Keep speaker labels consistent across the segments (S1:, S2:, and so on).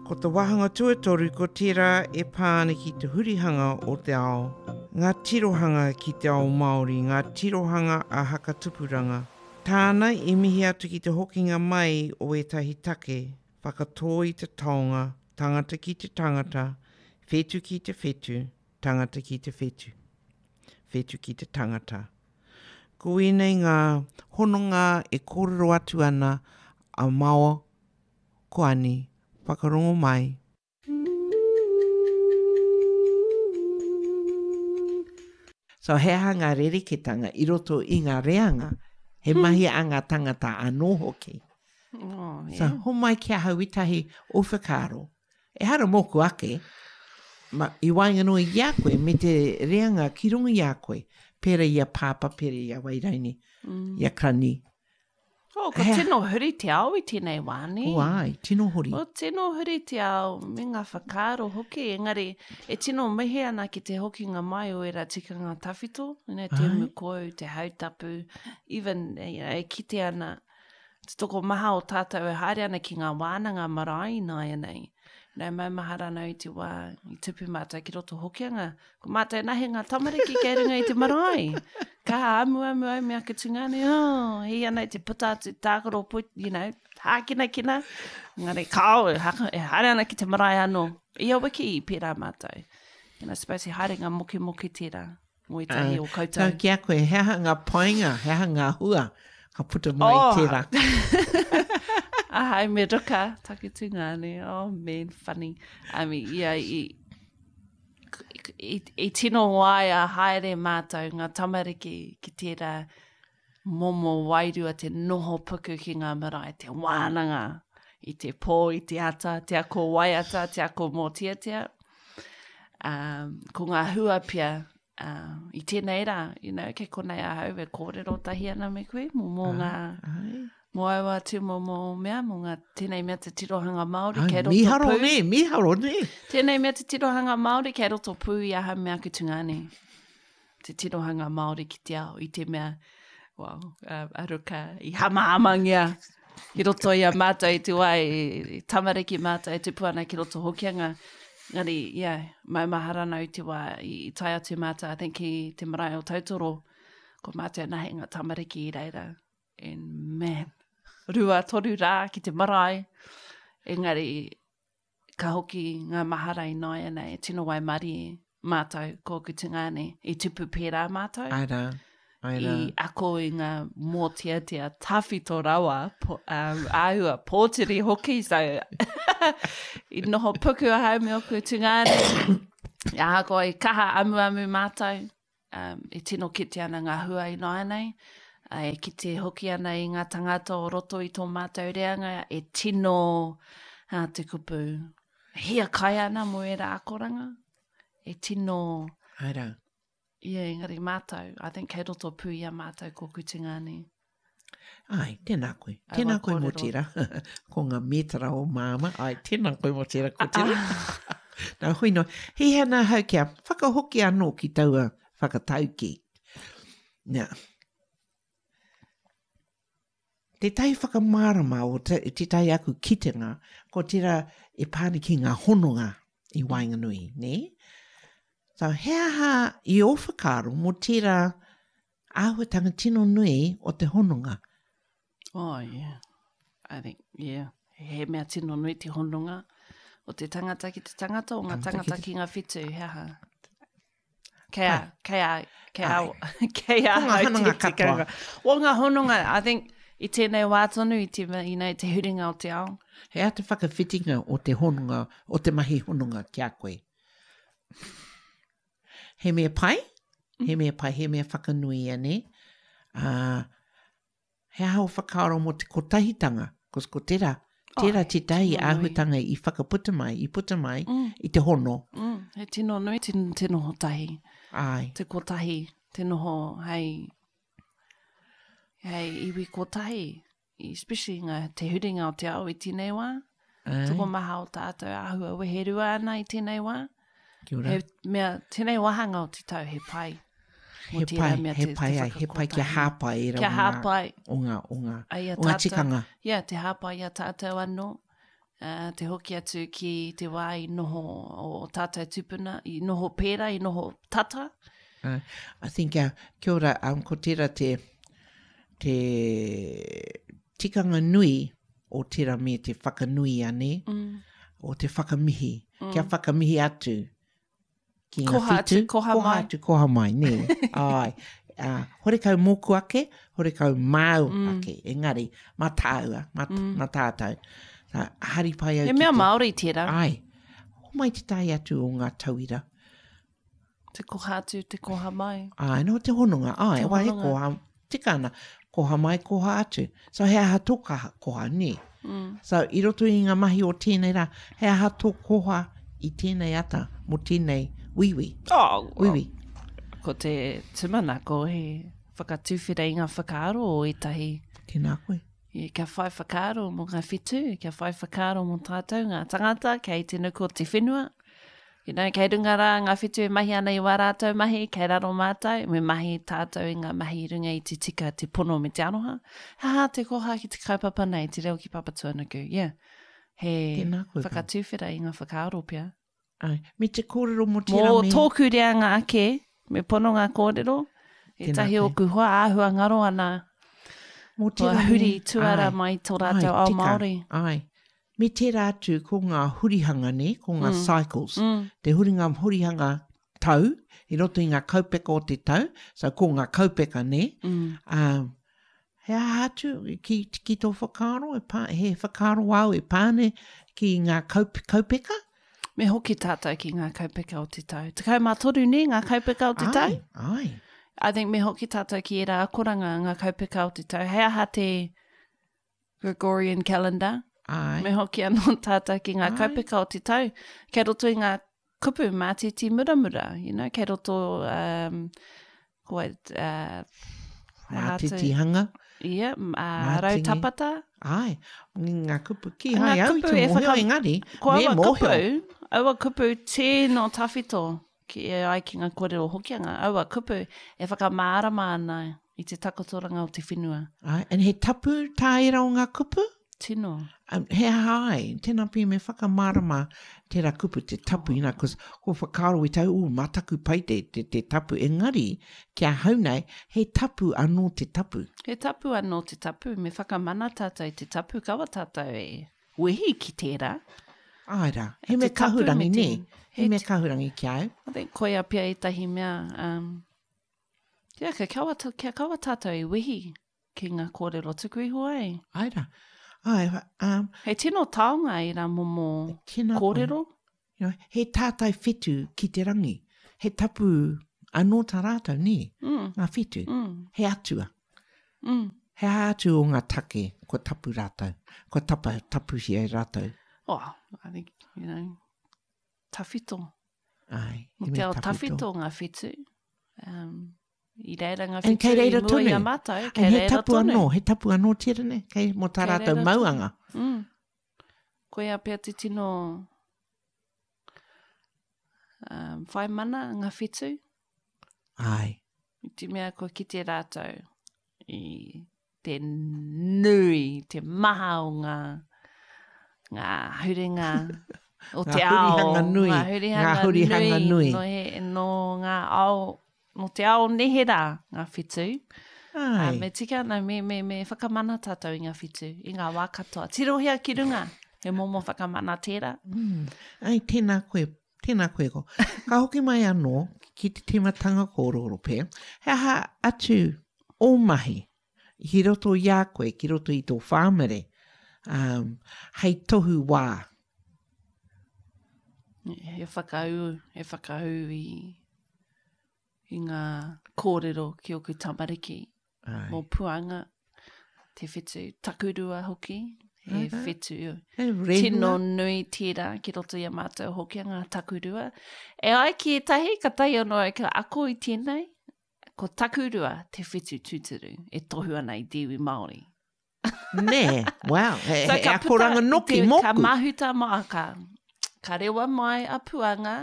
S1: Ko te wāhanga tuatoru ko tērā e pā ana ki te hurihanga o te ao, ngā tirohanga ki te ao Māori, ngā tirohanga a Hakatupuranga. Tāna i mihi atu ki te hokinga mai o ētahi take, whakatō i te taonga, tangata ki te tangata, whetu ki te whetu, tangata ki te whetu, whetu ki te tangata. Ko ēnei ngā hononga e kōrero atu ana a Mao Ko Ani, whakarongo mai.
S2: So he aha ngā rereketanga i roto i ngā reanga, he mahi a ngā tangata anō hoki.
S3: Oh, yeah.
S2: So homai ki ahau ētahi o whakaaro. Ehara mōku ake, ma, i waenganui i a koe me te reanga ki runga i a koe, pērā i a Pāpā, pērā i a Wairaini, mm. i a Krani,
S3: Oh, ko tino huri te ao i tēnei wā, nē?
S2: Oh, ai, tino huri.
S3: Oh, tino huri te ao me ngā whakaaro hoki, engari e tino mihi ana ki te hokinga mai o ērā tikanga tawhito, you know, te umukou, te hautapu, even, you know, e kite ana te tokomaha o tātou e haere ana ki ngā wānanga marae ināianei. You know, maumahara ana i te wā i tupu mātou ki roto Hokianga, Ko mātou nahe ngā tamariki kei runga i te marae. Ka amuamu au me aku tungāne, oh, hī ana i te puta atu tākaro poi, you know, hākinakina. Engari, kāo, e, haka, e haere ana ki te marae anō. Ia wiki i pērā mātou. And I suppose he haerenga mokemoke tērā mō ētahi o koutou.
S2: Tau ki a koe, he aha ngā painga, he aha ngā hua ka puta mai
S3: oh.
S2: i tērā?
S3: Ahau me Ruka, taku tungāne. Oh man, funny. I mean, yeah, i, i, i tino waia haere mātou ngā tamariki ki tērā momo wairua te noho puku ki ngā marae, te wānanga i te pō, i te ata, te ako waiata, te ako mōteatea. Um, ko ngā hua pea uh, i tēnei rā, you know, kei konei ahau e kōrero tahi ana me koe, mō, mō ngā,
S2: Ai.
S3: Mō aua tūmomo mea, mō ngā, tēnei mea te tirohanga Māori
S2: Ai,
S3: kei roto
S2: mīharo
S3: pū.
S2: nē, mīharo nē.
S3: Tēnei mea te tirohanga Māori kei roto pū i ahau me aku tungāne. Te tirohanga Māori ki te ao, i te mea, well, uh, a Ruka i hamahamangia i roto i a mātou i te wā i, i tamariki mātou e tupu ana ki roto Hokianga. Engari, yeah, maumahara ana i te wā i, i tae atu mātou, I think, ki te marae o Tautoro, ko mātou anahe ngā tamariki i reira. And man, 2-3 rā ki te marae, engari ka hoki ngā mahara i nāianei, e tino waimarie mātou, ko ōku tungāne, i tupu pērā mātou.
S2: Āe rā, āe rā.
S3: I ako i ngā mōteatea tawhito rawa, po, um, āhua pōturi hoki, so i noho puku ahau me ōku tungāne, ahakoa i kaha amuamu mātou, Um, e tino kite ana ngā hua ināianei, e kite hoki ana i ngā tangata o roto i tō mātou reanga e tino uh, te kupu hiakai ana mō ērā akoranga. E tino...
S2: Āe rā.
S3: Ia, engari mātou, I think kei roto pū i a mātou ko Kutingāne.
S2: Ai, tēnā koe. Tēnā koe mō tērā. Ko ngā mētara o māma. Ai, tēnā koe mō tērā, ko tērā. Nā, hoi noa. He hea nā hau kia whakahoki anō ki taua whakataukī. Nā. Tētahi whakamārama o te, tētahi aku kitenga, ko tērā e pā ana ki ngā hononga i waenganui, nē? So, he aha i ō whakaaro mō tērā Āhuatanga tino nui o te hononga.
S3: Oh, yeah. I think, yeah. He mea tino nui te hononga o te tangata ki te tangata, o ngā tangata ki ngā whetū, he aha? Kei a, kei a, kei a, kei a
S2: Ko ngā hononga katoa.
S3: O ngā hononga, I think, i tēnei wā tonu, i te, you know, te huringa o te ao.
S2: He aha te whakawhitinga o te hononga, o te mahi hononga ki a koe? He mea pai, he mea pai, he mea whakanui ia, nē? Ā, he aha ō whakaaro mō te kotahitanga? Cos ko tērā, tērā oh, tētahi āhuatanga i whakaputa mai, i puta mai mm. i te hono.
S3: Mm, he tino nui te, te noho tahi.
S2: Ai.
S3: Te kotahi, te noho hei, hei iwi kotahi. Especially ngā, te huringa o te ao i tēnei wā.
S2: Ai.
S3: Tokomaha o tātou āhua weherua ana i tēnei wā.
S2: Kia ora.
S3: He mea, tēnei wāhanga o te tau he pai.
S2: He pai, mea he pai ai, he pai kia hāpai i
S3: rawa kia hāpai.
S2: o ngā, o ngā, o ngā tikanga.
S3: Ia, te hāpai i a tātou anō. Uh, te hoki atu ki te wā i noho o tātou tupuna, i noho pērā, i noho tata.
S2: Uh, I think, uh, kia ora, um, ko tērā te, te tikanga nui o tērā me te whakanui ane, mm. o te whakamihi. Mm. Kia whakamihi atu ki ngā
S3: koha
S2: whitu.
S3: Atu, koha
S2: koha
S3: mai.
S2: atu, koha mai, nē. Ai. Uh, horekau mōku ake, horekau māu mm. ake. Engari, mā tāua, mā, mm. mā tātou. So, hari pai au
S3: He mea te... Māori tērā.
S2: Ai. Homai te tae atu o ngā tauira.
S3: Te koha atu, te koha mai.
S2: Ai, no te hononga. Ai, te wa he koha, tika ana, koha mai, koha atu. So he aha tō kaha, koha, nē? Mm. So i roto i ngā mahi o tēnei rā, he aha tō koha i tēnei ata mō tēnei wīwī?
S3: Oh,
S2: well, wīwī.
S3: Ko te tūmanako he whakatuwhera i ngā whakaaro o ētahi.
S2: Tēnā koe.
S3: Yeah, kia whai whakaaro mō ngā whetū, kia whai whakaaro mō tātou, ngā tangata kei te nuku o te whenua. You know, kei runga rā ngā whetū e mahi ana i wā rātou mahi, kei raro mātou, me mahi tātou i ngā mahi i runga i te tika, te pono me te aroha. He aha te koha ki te kaupapa nei, te reo ki Papatūānuku, yeah. He
S2: Tēnā koe, Pam.
S3: whakatuwhera i ngā whakaaro pea.
S2: Ai, me te kōrero mō tērā
S3: Mō
S2: me...
S3: tōku reanga ake, me pono ngā kōrero,
S2: Tēnā
S3: ētahi
S2: koe.
S3: ōku hoa āhua ngaro ana,
S2: Mō
S3: kua
S2: tērā me...
S3: huri tuara
S2: Ai,
S3: mai tō
S2: ai,
S3: rātou ao
S2: tika,
S3: Māori.
S2: ai. Me tērā atu ko ngā hurihanga nē, ko ngā mm. cycles. Mm. Te huringa hurihanga tau, i roto i ngā kaupeka o te tau, so ko ngā kaupeka nē. Mm. Um, he aha atu ki, ki tō whakaaro, e pā, he whakaaro au e pāne ki ngā kaup, kaupeka?
S3: Me hoki tātou ki ngā kaupeka o te tau. 13 nē ngā kaupeka o te tau?
S2: Ai, ai.
S3: I think me hoki tātou ki ērā akoranga ngā kaupeka o te tau. He aha te Gregorian calendar.
S2: Ai.
S3: Me hoki anō tātou ki ngā kaupeka o te tau. Kei roto i ngā kupu mātiti muramura, you know, kei roto, um, ko, uh,
S2: Mātiti hanga.
S3: Yeah, uh, rautapata.
S2: Ai, ngā kupu ki hai au i te mōhio whaka... engari,
S3: ko aua kupu, aua kupu tēno tawhito, ki e ai ki ngā kōrero Hokianga, aua kupu e whakamārama ana i te takotoranga o te whenua.
S2: Ai, and he tapu tā ērā o ngā kupu?
S3: Tino.
S2: Um, he aha ai, tēnā pia me whakamārama tērā kupu te tapu, oh. you know, cause ko whakaaro i tau, ū, mataku pai te, te, te tapu, engari, ki ahau nei, he tapu anō te tapu.
S3: He tapu anō te tapu, me whakamana tātou i te tapu, kaua tātou e wehi ki tērā.
S2: Āe rā, he mea kahurangi, nē? He mea kahurangi ki a au.
S3: I think koia pea ētahi mea, um, yeah, kia kaua, kia kaua tātou e wehi ki ngā kōrero tuku iho ai.
S2: Āe rā. Āe, um,
S3: He tino taonga ērā momo kōrero.
S2: You know, he tātai whetū ki te rangi. He tapu anō tā rātou, nē?
S3: Mm.
S2: Ngā whetū.
S3: Mm.
S2: He atua.
S3: Mm.
S2: He aha atu o ngā take kua tapu rātou, kua tapa, tapuhia e rātou?
S3: Oh, I think, you know, tawhito.
S2: Ai,
S3: he mea tawhito. Te ao tawhito ngā whetū. Um, i reira ngā whetū i mua i a mātou, kei
S2: reira tonu. He tapu anō, he tapu anō tērā, nē? Kei, mō tā rātou mauanga.
S3: Mm. Koia pea te tino um, whai mana ngā whetū.
S2: Ai.
S3: I te mea kua kite rātou i te nui, te maha o ngā, ngā huringa o te ao.
S2: Ngā hurihanga nui.
S3: Ngā hurihanga,
S2: ngā hurihanga
S3: nui.
S2: nui.
S3: Nō, he, nō ngā ao Nō te ao neherā ngā whetū.
S2: Ai.
S3: Uh, me tika ana, me, me, me whakamana tātou i ngā whetū, i ngā wā katoa. Tirohia ki runga, he momo whakamana tērā.
S2: Mm. Ai, tēnā koe, tēnā koe ko. Ka hoki mai anō ki te tīmatanga kōrero pea, he aha atu ō mahi ki roto i a koe, ki roto i tō whāmere, um, hei tohu wā?
S3: He whakaū, he whakaū i, i ngā kōrero ki ōku tamariki.
S2: Ai.
S3: Mō Puanga, te whetū takurua hoki, he whetū tino nui tērā ki roto i a mātou Hokianga takurua. E ai ki ētahi, ka tae anō au ka ako i tēnei, ko takurua te whetū tūturu e tohu ana i te iwi Māori.
S2: Nē, wow, he,
S3: So
S2: he
S3: ka puta
S2: akoranga
S3: i
S2: noki
S3: te,
S2: mōku.
S3: ka mahuta mai, ka, ka rewa mai a Puanga,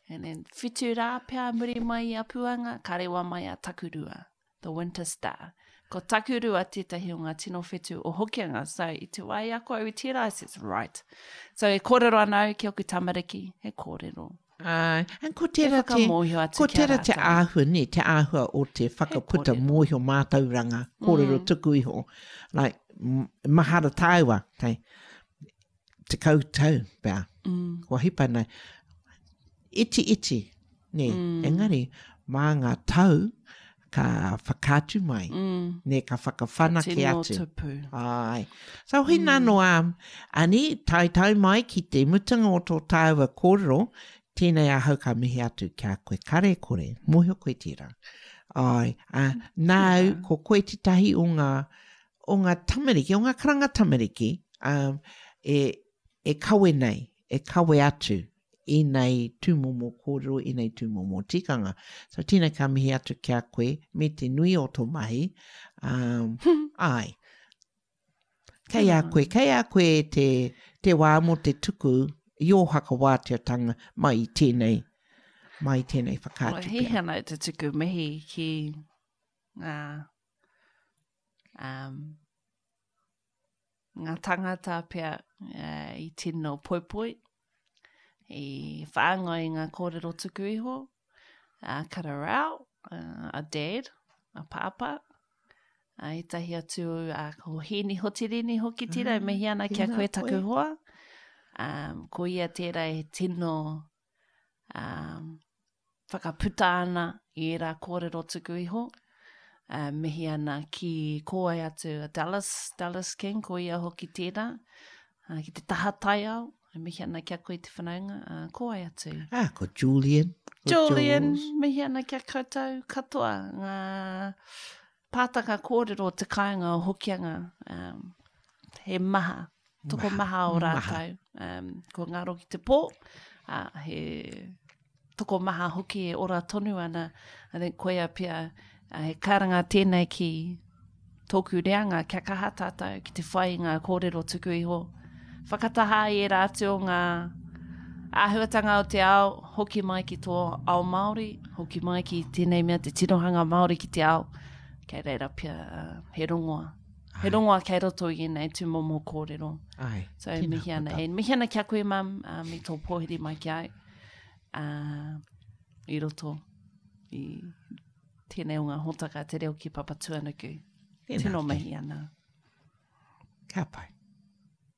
S3: and then whitu rā pea muri mai i a Puanga, ka rewa mai a Takurua, the winter star. Ko Takurua tētahi o ngā tino whetū o Hokianga, so i te wā i ako au i tērā, I says, right. So e kōrero ana au ki ōku tamariki, he kōrero.
S2: Āe, and ko tērā te, ko tērā te āhua, nē, te āhua o te whakaputa mōhio mātauranga, kōrero tuku iho. Like, mahara tāua, kei, 10 tau pea, kua hipa nei, iti iti, nē, engari, mā ngā tau ka whakaatu mai, nē, ka whakawhanake atu.
S3: Tino tupu.
S2: Āe. So hina mm. noa, ani, taetae mai ki te mutunga o tō tāua kōrero, tēnei ahau ka mihi atu ki a koe kare kore, mōhio koe tērā. Āe, ā, nāu, ko koe tētahi o ngā, o ngā tamariki, o ngā karanga tamariki, um, e, e kawe nei, e kawe atu ēnei tūmomo kōrero, ēnei tūmomo tikanga. So tēnei ka mihi atu ki a koe me te nui o tō mahi. Um, āe. Kei a koe, kei a koe te, te wā mō te tuku i ō whakawāteatanga mai i tēnei, mai i tēnei whakaatu
S3: pea. Well, he ana te tuku mihi ki ngā um, ngā tangata pea uh, i tino poipoi, i whāngai i ngā kōrero tuku iho, a Kararau, uh, a Dad, a Pāpā, a ētahi atu a ko Hēni Hotirini hoki tērā, e mihi ana ki a koe taku hoa. Um, ko ia tērā e tino um, whakaputa ana i ērā kōrero tuku iho. Uh, mihi ana ki kōai atu a Dallas, Dallas King, ko ia hoki tērā, uh, ki te taha taiao, e mihi ana ki a koe te whanaunga, uh, kōai atu.
S2: Ah, ko Julian.
S3: Ko Julian, Jules. mihi ana ki a koutou katoa, ngā pātaka kōrero o te kāinga o Hokianga, um, he maha, tokomaha o rātou. Um, ko ngaro ki te pō, uh, he tokomaha hoki e ora tonu ana. I think koia pea, uh, he karanga tēnei ki tōku reanga, kia kaha tātou ki te whai i ngā kōrero tuku iho. Whakataha i ērā atu o ngā āhuatanga o te ao, hoki mai ki tō ao Māori, hoki mai ki tēnei mea te tirohanga Māori ki te ao, kei reira pea uh, he rongoa. He rongoa kei roto i ēnei tūmomo kōrero.
S2: Ai,
S3: so, e mihi ana, e mihi ana ki a koe, mam, um, i tō pōhiri mai ki au, uh, i roto i tēnei o ngā hōtaka te reo ki Papatūānuku. Tino mihi ana.
S2: Ka pai.